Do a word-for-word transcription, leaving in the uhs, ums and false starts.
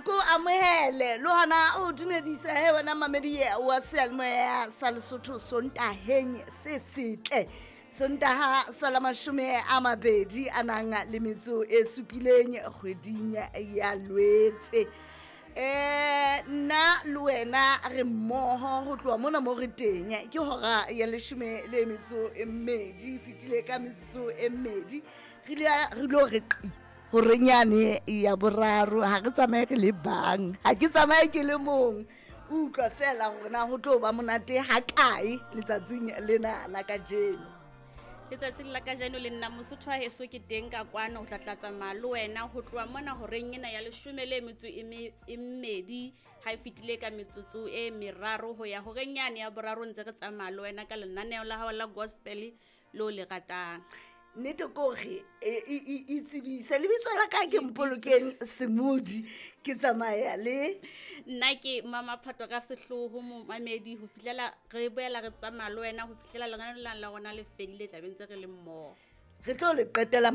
Ko amohele le hona o dumedisa he wena mamedi wa seyalemoya sa Lesotho Sontaheng se setle. Sontaha sa la mashome a mabedi a nang le metso e supileng kgweding ya Lwetse. Eh nna le wena re mmoho ho tloha mona mo re teng ke hora ya leshome le metso e mmedi fetile ka metsotso e mmedi re ile re lo re qi horeng yane ya boraro. Ha re tsamaye re le bang, ha ke tsamaye ke le mong. Utlwa fela hore na ho tlo ba monate ha kae letsatsing lena la kajeno. Letsatsing la kajeno le nna Mosotho wa heso ke teng ka kwano ho tla tla tsamaya le wena ho tloha mona horeng ena ya leshome le metso e me- e mmedi ha e fetile ka metsotso e meraro ho ya horeng yane ya boraro, ntse re tsamaya le wena ka lenaneo la hao la gospel le o le ratang. Nnete kore e itsebise lebitso la ka ke Mpolokeng Semodi, ke tsamaya le nna ke Mama Phato ka sehloho momamedi ho fihlela re boela re tsamaya le wena ho fihlela lenaneo lena la rona le fedile, tla be ntse re le mmoho. Re tlo le qetela.